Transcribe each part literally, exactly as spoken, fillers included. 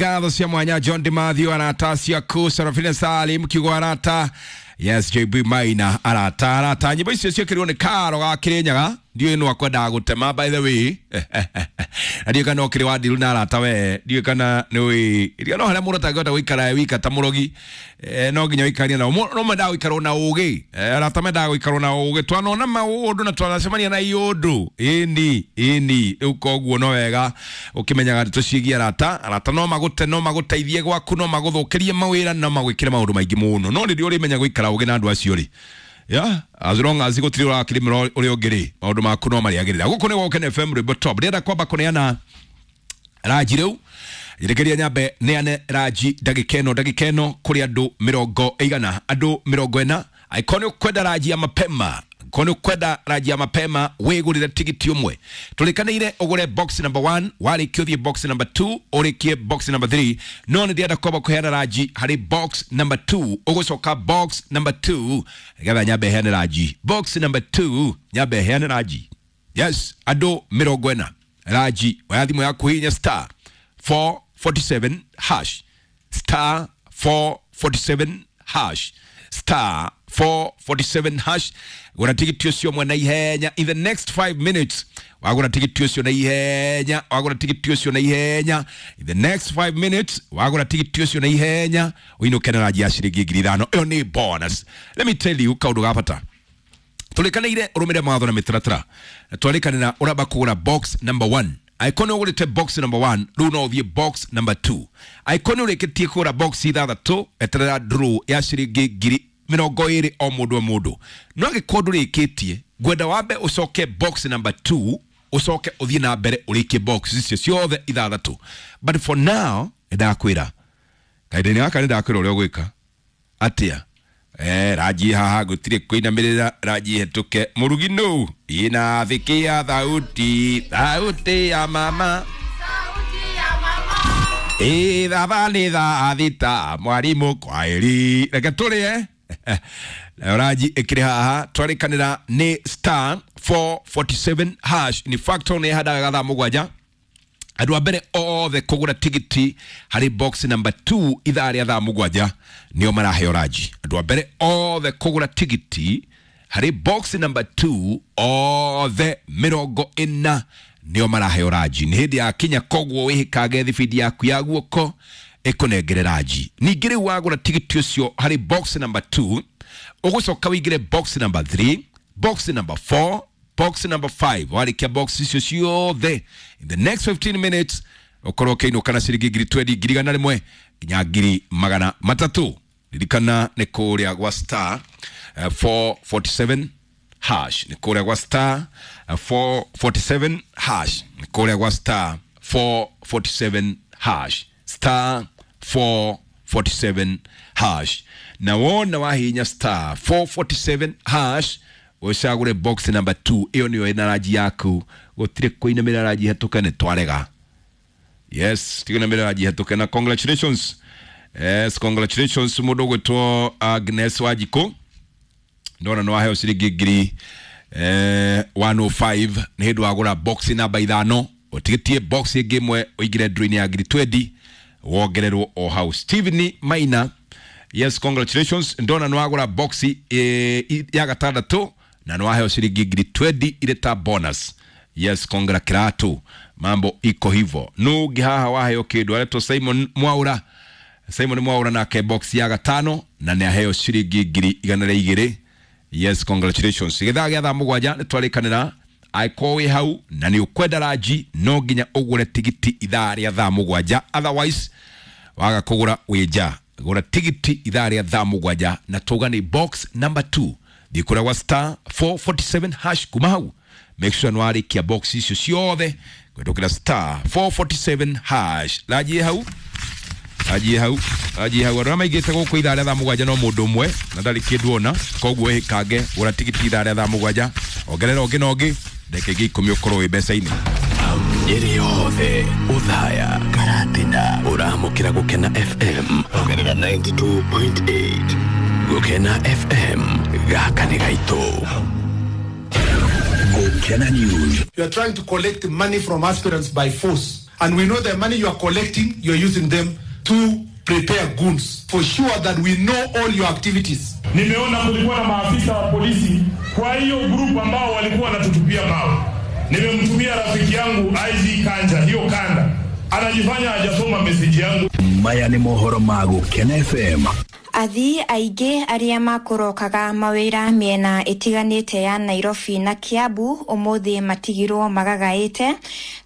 Ngatho cia mwanya John Dimathio, arata ciaku Serafina Salim kiugo arata, yes, J B Maina, arata arata. Nyimbo icio ciĩkĩrirwo nĩ Karo ga Kĩrĩnyaga. Ndiũĩ nũ akwendaga gũtema, by the way, na ndiũĩ kana ũkĩrĩ wa ndiru na arata we. Ndiũĩ kana nĩ ũĩ ndiũĩ no harĩa mũndũ atangĩhota gũikara e wika ta mũrogi. eh, no nginya ũikaranie nao. No mendaga gũikarwo na ũgĩ. eh, arata mendaga gũikarwo na ũgĩ. Twanona maũndũ na twanacemania na iũndũ ĩni ĩni. Rĩu koguo no wega ũkĩmenyaga ndeto ciĩgiĩ arata. Arata no magũte, no magũteithie gwaku, no magũthũkĩrie mawĩra, no magwĩkĩre maũndũ maingĩ mũno. No rĩrĩa ũrĩmenya gũikara ũgĩ na andũ acio rĩ, yeah, as long as gũtirĩ ũrakĩrĩmĩra ũrĩa ũngĩ rĩ, maũndũ maku no marĩagĩrĩra. Gũkũ nĩ Woken F M, rwĩmbo top. Ndĩrenda kwamba kũneana ranji rĩu. Njĩtĩkĩria nyambe neane ranji ndagĩka ĩno, ndagĩka ĩno, kũrĩ andũ mĩrongo ĩigana, andũ mĩrongo ĩna. Angĩkorwo nĩ ũkwenda ranji ya mapema, angĩkorwo nĩ ũkwenda ranji ya mapema, wĩgũrĩre tigiti ũmwe. Tũrĩkanĩire ũgũre box number one, warĩkia ũthiĩ box number two, ũrĩkie box number three. No nĩ ndĩrenda kwamba kũheana ranji harĩ box number two. Ũgũcoka box number two nĩgetha nyambe heane ranji. Box number two, nyambe heane ranji. Yes, andũ mĩrongo ĩna ranji. Oya thimũ yaku, hihinya star four forty-seven hash, star four forty-seven hash, star four forty-seven hash. Gũra tigiti ũcio mwe na ihenya in the next five minutes. Wagũra tigiti ũcio na ihenya, wagũra tigiti ũcio na ihenya in the next five minutes, wagũra tigiti ũcio na ihenya, ũinũke na ranji ya ciringi ngiri ithano. Ĩyo nĩ bonus. Let me tell you kaũndũ ga bata. Tũrĩkanĩire ũrũmĩrĩre mawatho na mĩtaratara, na twarĩkanĩra ũramba kũgũra box number one. Angĩkorwo nĩ ũgũrĩte box number one, rĩu no ũthiĩ box number two. Angĩkorwo nĩ ũrĩkĩtie kũgũra box ithathatũ, eterera draw ya ciringi ngiri mĩrongo ĩrĩ o mũndũ o mũndũ. No angĩkorwo ndũrĩkĩtie, ngwenda wambe ũcoke box number two, ũcoke ũthiĩ na mbere ũrĩkie box icio ciothe ithathatũ. But for now, nĩndakwĩra kahinda-inĩ gaka, nĩndakwĩra ũrĩa ũgwĩka atia. Eh, ranji haha gũtirĩ kũinamĩrĩra, ranji hetũke. Mũrugi nũ inathikia thauti, thauti ya mama. Ĩ thaa nĩ thaa thita, mwarimũ kwaĩri, reke tũrĩe. Nayo ranji ĩkĩrĩ haha. Twarĩkanĩra nĩ star four forty-seven hash. In fact, nĩ handaga thaa mũgwanja, andũ a mbere othe kũgũra tigiti harĩ box number two ithaa rĩa thaa mũgwanja nĩo maraheo ranji. Andũ a mbere othe kũgũra tigiti harĩ box number two, othe mĩrongo ĩna nĩo maraheo ranji. Nĩ hĩndĩ ya kinya, koguo wĩhĩkage thibindi yaku ya guoko ĩkũnengere ranji. Ningĩ rĩu wagũra tigiti ũcio harĩ box number two, ũgũcoka wĩingĩre box number three, box number four, box number five. Warĩkia box icio ciothe in the next fifteen minutes, ũkorwo ũkĩinũka na ciringi ngiri twendi, ngiri igana rĩmwe nginya ngiri magana matatũ. Ririkana nĩ kũrĩa gwa star eh, four forty-seven hash, nĩ kũrĩa gwa star eh, four forty-seven hash, nĩ kũrĩa gwa star four forty-seven hash, star four forty-seven hash. Na wona wahinya star four forty-seven hash, ũcagũre box number two, ĩyo nĩyo ĩna ranji yaku. Gũtirĩ kũinamĩrĩra, ranji hetũke, nĩ twarega. Yes, tiganamĩrĩra, ranji hetũke. Na congratulations, yes, congratulations mũndũ ũgwĩtwo Agnes Wanjikũ. Ndona nĩ waheo ciringi ngiri eh, one oh five nĩ hĩndĩ wagũra box namba ithano. Ũtigĩtie box ĩngĩ ĩmwe ũingĩre draw-inĩ ya ngiri twendi, wongererwo o hau. Steven Maina, yes, congratulations. Ndona nĩ wagũra box eh, ya gatandatũ na nĩ waheo ciringi ngiri twendi irĩ ta bonus. Yes, congra kiratu, mambo iko hivo. Nũngĩ haha waheo kĩndũ aretwo Simon Mwaura. Simon Mwaura nake box ya gatano na nĩ aheo ciringi ngiri igana rĩa igĩrĩ. Yes, congratulations. Gĩthaa gĩa thaa mũgwanja nĩ twarĩkanĩra, angĩkorwo wĩ hau na nĩ ũkwenda ranji, no nginya ũgũre tigiti ithaa rĩa thaa mũgwanja. Otherwise, waga kũgũra wĩ nja. Gũra tigiti ithaa rĩa thaa mũgwanja na tuga nĩ box number two. Thiĩ kũrĩa gwa star four forty-seven hash. Kuma hau, make sure nĩ warĩkia box icio ciothe kũhĩtũkĩra star four forty-seven hash. Ranji hau, ranji hau, ranji hau. Andũ arĩa maingĩte gũkũ ithaa rĩa thaa mũgwanja no mũndũ ũmwe na ndarĩ kĩndũ ona. Koguo ĩkange, gũra tigiti ithaa rĩa thaa mũgwanja, ongerera ũngĩ na ũngĩ, ndagĩka ingĩ ikũmi ũkorwo wĩ mbeca-inĩ. Nyeri yothe, Othaya, Karatina, ũramũkĩra Gũkena F M ongerera ninety-two point eight. Gũkena F M, gaka nĩ gaitũ. Gũkena News. You are trying to collect money from aspirants by force. And we know the money you are collecting, you are using them to prepare goons. For sure that we know all your activities. Nimeona kulikuwa na maafisa wa polisi kwa hiyo group ambao walikuwa wanatutupia mawe. Nimemtumia rafiki yangu I G Kanja, hiyo kanda. Anajifanya hajasoma message yangu. Maya ni mohoro magu Ken F M. Athii aingĩ arĩa makũrokaga mawĩra mĩena ĩtiganĩte ya Nairobi na Kiambu ũmũthĩ matigirwo magagaĩte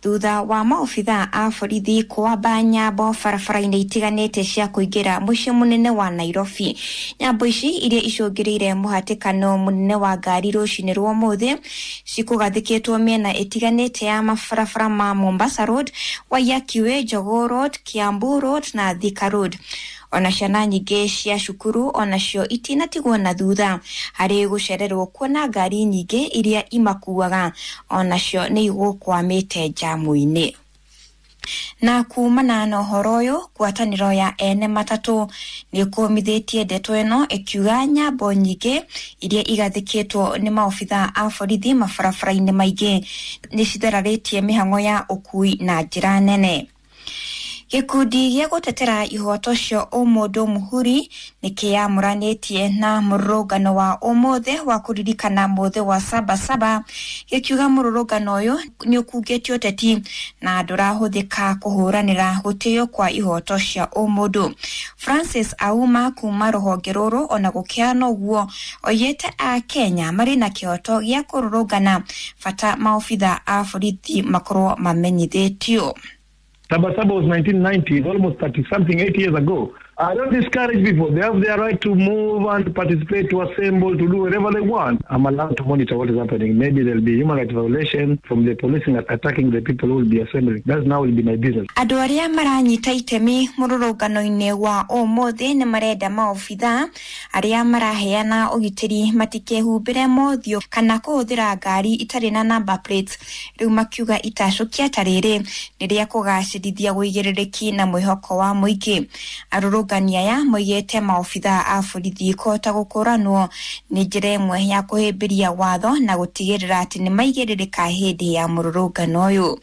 thutha wa maobitha a borithi kwamba nyambo barabara-inĩ itiganĩte cia kũingĩra mũciĩ mũnene wa Nairobi. Nyambo ici iria icũngĩrĩire mũhatĩkano mũnene wa ngari rũcinĩ rwa ũmũthĩ cikũgathĩkĩtwo mĩena ĩtiganĩte ya mabarabara ma Mombasa Road, Waiyaki Way, Jogoo Road, Kiambu Road na Thika Road. Ona ciana nyingĩ cia cukuru onacio itinatigwo na thutha harĩ gũcererwo kuona ngari nyingĩ iria imakuaga onacio nĩ igũkwamĩte njamu-inĩ. Na kumana na ũhoro ũyũ, ngwatanĩro ya ene matatũ nĩ ĩkũmithĩtie ndeto ĩno ĩkiuga nyambo nyingĩ iria igathĩkĩtwo nĩ maobitha a borithi mabarabara-inĩ maingĩ nĩ cithararĩtie mĩhang'o ya ũkui na njĩra nene. Gĩkundi gĩa gũtetera ihoto cia ũmũndũ Muhuri nĩ kĩamũranĩtie na mũrũrũngano wa ũmũthĩ wa kũririkana mũthĩ wa Sabasaba gĩkiuga mũrũrũngano ũyũ nĩ ũkungĩtie ũteti na ndũrahũthĩka kũhũranĩra gũtĩo kwa ihoto cia ũmũndũ. Francis Auma kuma rũhonge rũrũ ona gũkĩhana ũguo oigĩte a Kenya marĩ na kĩhoto gĩa kũrũrũngana bata maobitha a borithi makorwo mamenyithĩtio. Sabasaba was nineteen ninety, almost thirty something, eight years ago. I don't discourage people. They have their right to move and participate, to assemble, to do whatever they want. I'm allowed to monitor what is happening. Maybe there'll be human rights violation from the police attacking the people who will be assembling. That now will be my business. Andũ arĩa maranyita itemi mũrũrũngano-inĩ wa ũmũthĩ nĩ marenda maobitha arĩa maraheana ũgitĩri matikehumbĩre mothiũ kana kũhũthĩra ngari itarĩ na number plates. Rĩu makiuga itacũkia ta rĩrĩ nĩ rĩa kũgacĩrithia ũigĩrĩrĩki na mwĩhoko wa mũingĩ. Arũrũngani aya moigĩte maobitha a borithi kũhota gũkũranwo nĩ njĩra ĩmwe ya kũhĩmbĩria watho na gũtigĩrĩra atĩ nĩ maigĩrĩrĩka hĩndĩ ya mũrũrũngano ũyũ.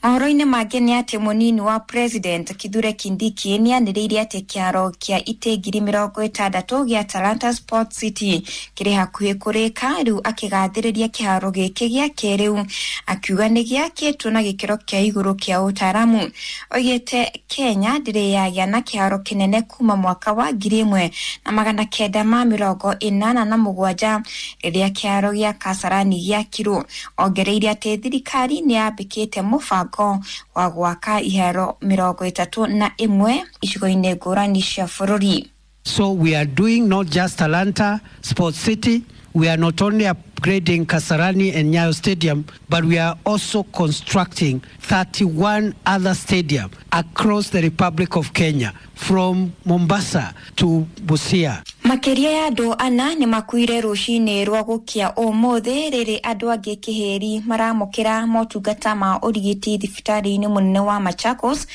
Mohoro-inĩ mangĩ nĩ atĩ mũnini wa President Kithure Kindiki nĩ anĩrĩire atĩ kĩharo kĩa itĩ ngiri mĩrongo ĩtandatũ gĩa Talanta Sports City kĩrĩ hakuhĩ kũrĩka rĩu akĩgathĩrĩria kĩharo gĩkĩ gĩa kĩrĩu akiuga nĩ gĩakĩtwo na gĩkĩro kĩa igũrũ kĩa ũtaaramu. Oigĩte Kenya ndĩrĩ yagĩa na kĩharo kĩnene kuma mwaka wa ngiri ĩmwe na magana kenda ma mĩrongo ĩnana na mũgwanja rĩrĩa kĩharo gĩa Kasarani gĩakirwo. Ongereire atĩ thirikari nĩ yambĩkĩte mũbango wa gwaka iharo mĩrongo ĩtatũ na ĩmwe icigo-inĩ ngũrani cia bũrũri. So we are doing not just Talanta Sports City, we are not only upgrading Kasarani and Nyayo Stadium, but we are also constructing thirty-one other stadiums across the Republic of Kenya, from Mombasa to Busia. Makĩria ya andũ ana nĩ makuire rũcinĩ rwa gũkĩa ũmũthĩ rĩrĩ andũ angĩ kĩhĩri maramũkĩra motungata ma ũrigiti thibitarĩ-inĩ mũnene wa Machakos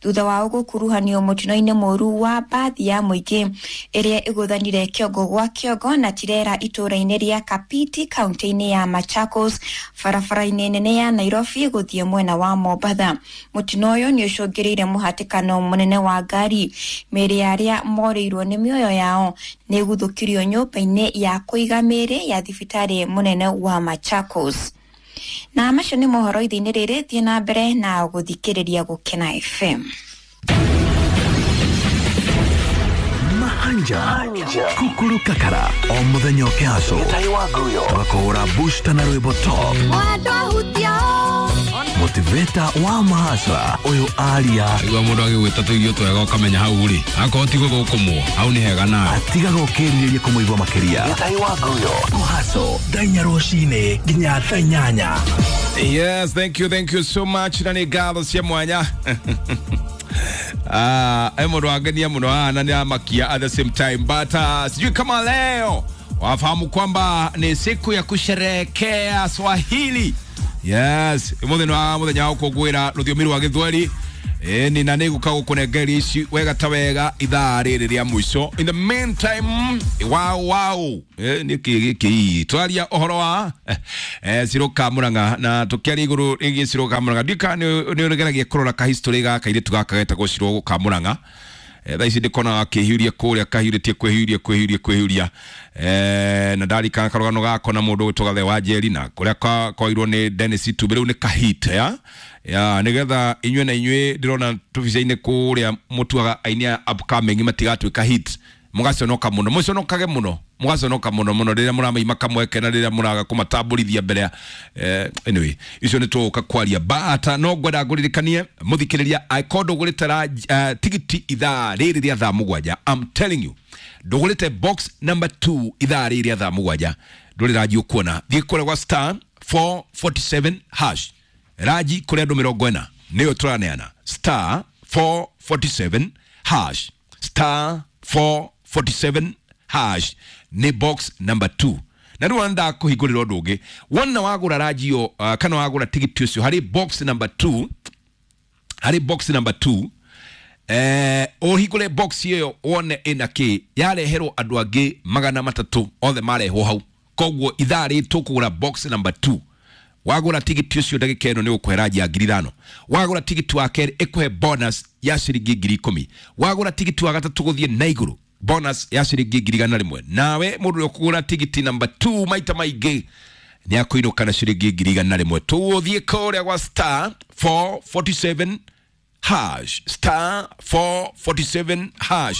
thutha wao gũkuruhanio mũtino-inĩ mũru wa mbathi ya mũingĩ ĩrĩa ĩgũthanire kĩongo gwa kĩongo na tirera itũũra-inĩ rĩa Kapiti kaunti-inĩ ya Machakos barabara-inĩ nene ya Nairobi gũthiĩ mwena wa Mombatha. Mũtino ũyũ nĩ ũcũngĩrĩire mũhatĩkano mũnene wa ngari. Mĩĩrĩ ya arĩa morĩirwo nĩ mĩoyo yao nĩ ĩguthũkirio nyũmba-inĩ ya kũiga mĩĩrĩ ya thibitarĩ mũnene wa Machakos. Na macio nĩ mohoro ithe-inĩ rĩrĩ, thiĩ na mbere na gũthikĩrĩria Gũkena F M. Mahanja kukuru kakara o muthenya ũkĩhaco tũgakũhũra booster na rwĩmbo top motivator wa mahasa ũyũ aria igua mũndũ agĩgwĩta tũirio twega ũkamenya hau rĩ akorwo ti gũthũkũmwo hau nĩ hega nawe atigaga ũkĩrirĩria kũmũigua makĩria kũhaco thaa inya rũcinĩ nginya thaa inyanya. Yes, thank you, thank you so much. Na nĩ ngatho cia mwanya. Ah, uh, mũndũ wangenia mũno haha na nĩ amakia at the same time, but uh, sijui kama leo wafahamu kwamba ni siku ya kusherehekea Swahili. Yes, umuthi ni wa muthenya wa gũkũngũĩra rũthiomi rwa Gĩthweri. Ĩni na nĩ gũka gũkũnengeria ici wega ta wega ithaa rĩrĩ rĩa mũico. In the meantime, wow wow, eh, nĩ kĩ gĩkĩ twaria ũhoro wa eh, Ciru Kamũrang'a na tũkĩaria igũrũ rĩgiĩ Ciru Kamũrang'a. Ndiũĩ kana nĩ ũgeragia kũrora ka history ga kairĩtu gaka getagwo Ciru Kamũrang'a. Eh, thaa ici ndĩkona akĩhiũria kũrĩa kahiũrĩtie kwĩhiũria kwĩhiũria kwĩhiũria, eh, na ndarikana karũgano gako na mũndũ ũgwĩtwo Gathe wa Njeri na kũrĩa koirwo nĩ Dennis Itumbĩ rĩu nĩ kahit ya ya nĩgetha inyuĩ na inyuĩ ndĩrona tũbica-inĩ kũrĩa mũtuaga aini aya upcoming matigatuĩka hit, mũgaconoka mũno, mũconokage mũno, mũgaconoka mũno mũno rĩrĩa mũramaima kamweke na rĩrĩa mũraga kũmatambũrithia mbere ya eh, anyway icio nĩ tũgũka kwaria but no ngwenda ngũririkanie mũthikĩrĩria angĩkorwo ndũgũrĩte uh, tigiti ithaa rĩrĩ rĩa thaa mũgwanja, I'm telling you ndũgũrĩte box number two ithaa rĩrĩ rĩa thaa mũgwanja ndũrĩ ranji ũkuona. Thiĩ kũrĩa gwa star four forty-seven hash ranji kũrĩa andũ mĩrongo ĩna nĩyo tũraneana star four forty-seven hash star four forty-seven hash nĩ box number two. Na rĩu anda kũhingũrĩra ũndũ ũngĩ, wona wagũra ranji ĩyo uh, kana wagũra tigiti ũcio harĩ box number two, harĩ box number two eh, ũhingũre box ĩyo wone ĩna kĩ yareherwo andũ angĩ magana matatũ othe marehwo hau. Koguo ithaa rĩrĩ tũkũgũra box number two. Wagũra tigiti ũcio ndagĩka ĩno nĩ ũkũhe ranji ya ngiri ithano. Wagũra tigiti wa kerĩ ĩkũhe bonus ya ciringi ngiri ikũmi. Wagũra tigiti wa gatatũ gũthiĩ na igũrũ bonus ya ciringi ngiri igana rĩmwe. Nawe mũndũ ũrĩa ũkũgũra tigiti number two maita maingĩ nĩ akũinũka na ciringi ngiri igana rĩmwe. Tũthiĩ kũrĩa gwa star four forty-seven hash star four forty-seven hash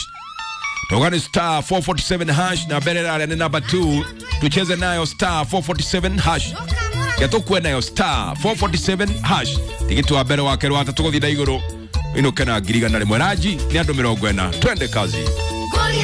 togani star four forty-seven hash na mbere ĩrarĩa nĩ number two, tucheze nayo star four forty-seven hash yatũkue nayo star four forty-seven hash tigiti wa mbere wa kerĩ wa gatatũ gũthiĩ na igũrũ inũke na ngiri igana rĩmwe. Ranji nĩ andũ mĩrongo ĩna. Twende kazi.